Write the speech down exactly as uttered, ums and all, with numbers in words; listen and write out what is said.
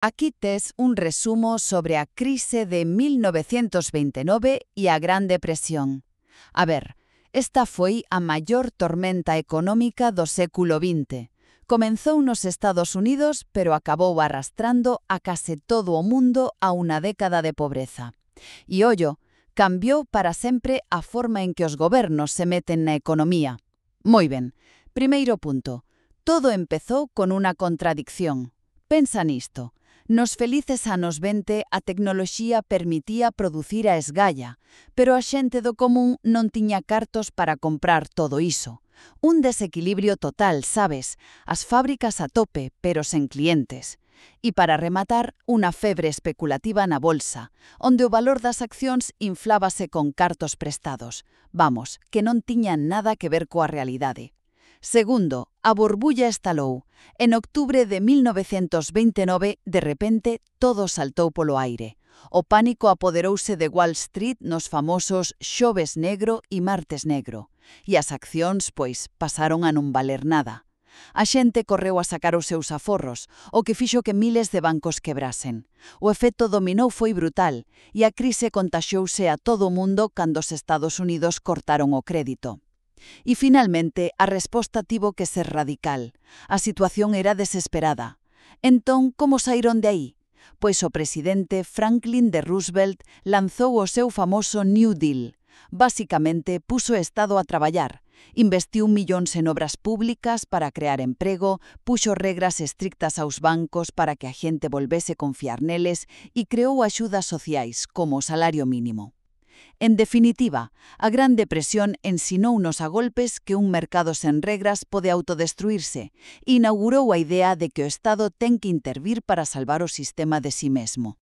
Aquí tes un resumo sobre a crise de mil novecientos vinte e nove e a Gran Depresión. A ver, esta foi a maior tormenta económica do século vinte. Comenzou nos Estados Unidos, pero acabou arrastrando a case todo o mundo a unha década de pobreza. E ollo, cambiou para sempre a forma en que os gobernos se meten na economía. Moi ben, primeiro punto. Todo empezou con unha contradicción. Pensa nisto. Nos felices anos vinte a tecnoloxía permitía producir a esgalla, pero a xente do común non tiña cartos para comprar todo iso. Un desequilibrio total, sabes? As fábricas a tope, pero sen clientes. E para rematar, unha febre especulativa na bolsa, onde o valor das accións inflábase con cartos prestados. Vamos, que non tiñan nada que ver coa realidade. Segundo, a burbulla estalou. En octubre de mil novecientos vinte e nove, de repente, todo saltou polo aire. O pánico apoderouse de Wall Street nos famosos xoves negro e martes negro. E as accións, pois, pasaron a non valer nada. A xente correu a sacar os seus aforros, o que fixo que miles de bancos quebrasen. O efecto dominó foi brutal, e a crise contaxiouse a todo o mundo cando os Estados Unidos cortaron o crédito. E, finalmente, a resposta tivo que ser radical. A situación era desesperada. Entón, como saíron de aí? Pois o presidente Franklin D. Roosevelt lanzou o seu famoso New Deal. Basicamente, puso o Estado a traballar. Investiu millóns en obras públicas para crear emprego, puxo regras estrictas aos bancos para que a xente volvese confiar neles e creou axudas sociais, como o salario mínimo. En definitiva, a Gran Depresión ensinounos a golpes que un mercado sen regras pode autodestruirse e inaugurou a idea de que o Estado ten que intervir para salvar o sistema de si mesmo.